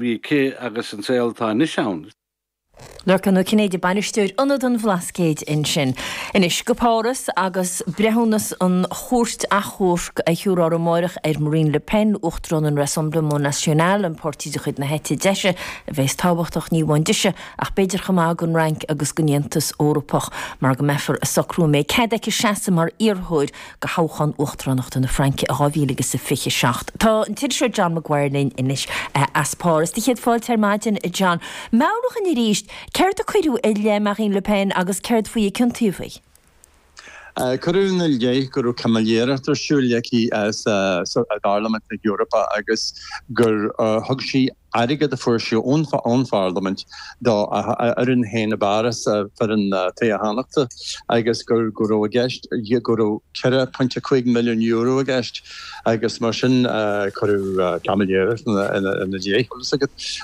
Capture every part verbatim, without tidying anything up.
bhí aici agus an saol atá anois ann. Lorcán Ó Cinnéide, Bainisteoir Ionad an Bhlascaoid ansin. Anois go Páras agus breithiúnas an Chúirt Achomhairc a thiúrfar amáireach ar Marine Le Pen, Uachtarán an Rassemblement National, an páirtí de chuid na heite deise a bheas tábhachtach ní amháin dise ach b'fhéidir chomh maith don Fhrainc agus don Aontas Eorpach mar go mbeifear ag socrú an mbeidh cead aici seasamh mar iarrthóir do thoghchán uachtaránachta na Fraince i dhá mhíle agus a fiche seacht. Tá an t-iriseoir John Maguire linn anois as Páras. Do chéad fáilte ar maidin, a John. Meabhraigh dhúinn arís, céard a cuireadh i leith Marine Le Pen agus céard faoi a ciontaíodh í? Cuireadh ina leith go raibh caimiléireacht ar siúl aici sa bParlaimint na hEorpa agus gur thug sí airgead a fuair sí ón Pharlaimint dá fhoireann féin i bPáras, foireann toghchánaíochta, agus go raibh i gceist go raibh ceithre pointe cúig milliún euro i gceist agus mar sin cuireadh caimiléireacht ina leith,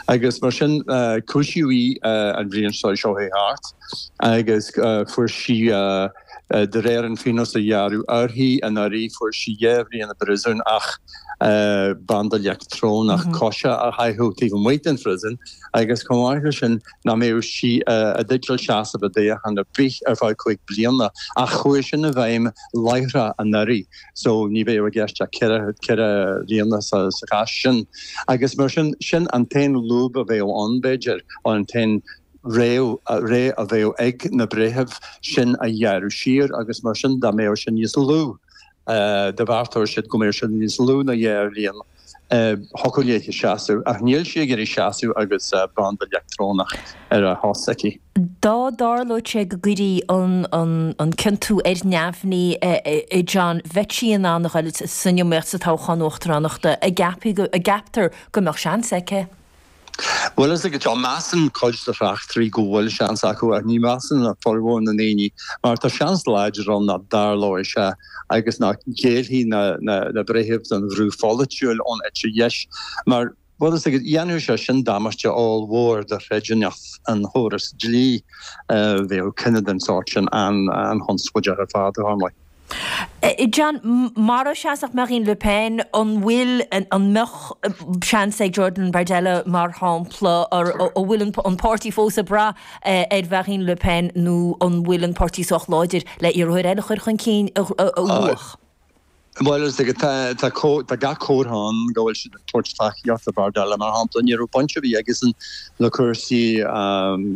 agus mar sin cúisíodh í an bhliain seo chuaigh thart agus fuair sí de réir an phionóis a gearradh uirthi anuraidh fuair sí dhá bhliain i bpríosún ach banda leictreonach coise a chaitheamh taobh amuigh den phríosún agus chomh maith leis sin nach mbeadh sí i dteideal seasamh i dtoghchán ar bith ar feadh cúig bliana ach chuaigh sin i bhfeidhm láithreach anuraidh so ní bheadh i gceist ach ceithre ceithre bliana sa chás sin agus mar sin sin an t-aon lúb a bheadh ann b'fhéidir an t-aon rogha a bheadh ag na breithimh sin a ghearradh siar agus mar sin dá mbeadh sin níos lú dá bheartódh siad go mbeadh sin níos lú ná dhá bhliain thiocfadh léi seasamh ach níl sí ag iarraidh seasamh agus banda leictreonach ar a chos aici. Dá dtarlódh sé go gcuirfí an ciontú ar neamhní, a John, bheadh sí in ann a ghoil san iomaíocht sa toghchán uachtaránachta, an gceaptar go mbeadh seans aici? Bhuel, is ag seo, measann cuid de thráchtairí go bhfuil seans acu ach ní mheasann formhór na ndaoine mar tá seans láidir ann nach dtarlóidh sé agus nach ngéillfidh na breithimh don bhrú pholaitiúil ón eite dheis mar, bhuel, is ag, dhéanfadh sé sin damáiste ollmhór do chreidiúnacht an chórais dlí. Bheadh cinneadh den sórt sin an-chonspóideach ar fad, dar ndóigh. John, mara seasfadh Marine Le Pen, an bhfuil, an mbeadh seans ag Jordan Bardella mar shampla, an bhfuil an páirtí fós ag brath ar Mharine Le Pen nó an bhfuil an páirtí sách láidir le iarrthóir eile a chur chun cinn a bhuafadh? Bhuel, is tá tá gach comhartha ann go bhfuil siad ag tabhairt tacaíocht do Bardella, mar shampla. Ní raibh baint ar bith aigesan le cúrsaí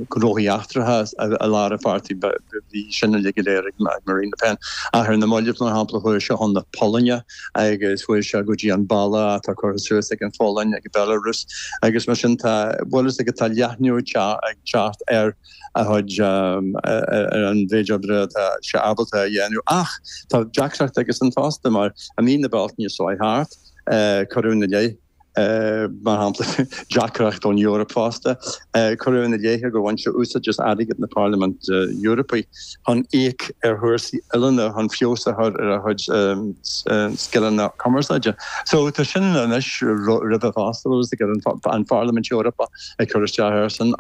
gnóthaí eachtracha i lár an pháirtí, bhí sin uilig go léir ag Marine Le Pen. Ach ar na mallaibh, mar shampla, chuaigh sé chun na Polainne agus chuaigh sé go dtí an balla atá curtha suas ag an Pholainn ag Belarus agus mar sin tá, bhuel, is ag tá leathnú ag teacht ar a chuid, ar an mhéid oibre atá sé ábalta a dhéanamh. Ach tá deacracht aigesan fosta mar i mí na Bealtaine seo chuaigh thart, cuireadh ina leith, mar shampla, deacracht ón Eoraip fosta, cuireadh ina leith gur bhain sé úsáid as airgead na Parlaiminte Eorpaí chun íoc ar chúrsaí oiliúna chun feabhas a chur ar a chuid scileanna cumarsáide. So tá sin anois roimhe fosta, bhfuil a fhios agat, an Pharlaimint Eorpach. ag cur isteach airsean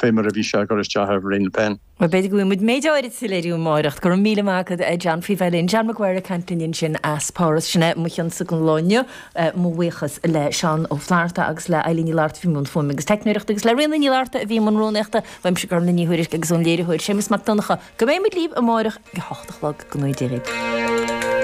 fé mar a bhí sé ag cur isteach ar Mharine Le Pen. Bhuel, b'fhéidir go bhfaighidh muid méid áirid soiléiriú amáireach. Go raibh míle maith agat, a John, faoi bheith linn. John Maguire ag caint linn ansin as Páras. Sin é mo chionsa don lá inniu. Mo bhuíochas le Seán Ó Flatharta agus le Eilín Ní Fhlatharta a bhí i mbun fuaime agus teicneoireachta agus le Ríona Ní Fhlatharta a bhí i mbun rúnaíochta. Uaimse Gormlaith Ní Thuairisg agus ón léiritheoir Séamus Mac Donncha. Go mbeidh muid libh amáireach ag a hocht a chlog. Go ngnóthaí Dia dhaoibh.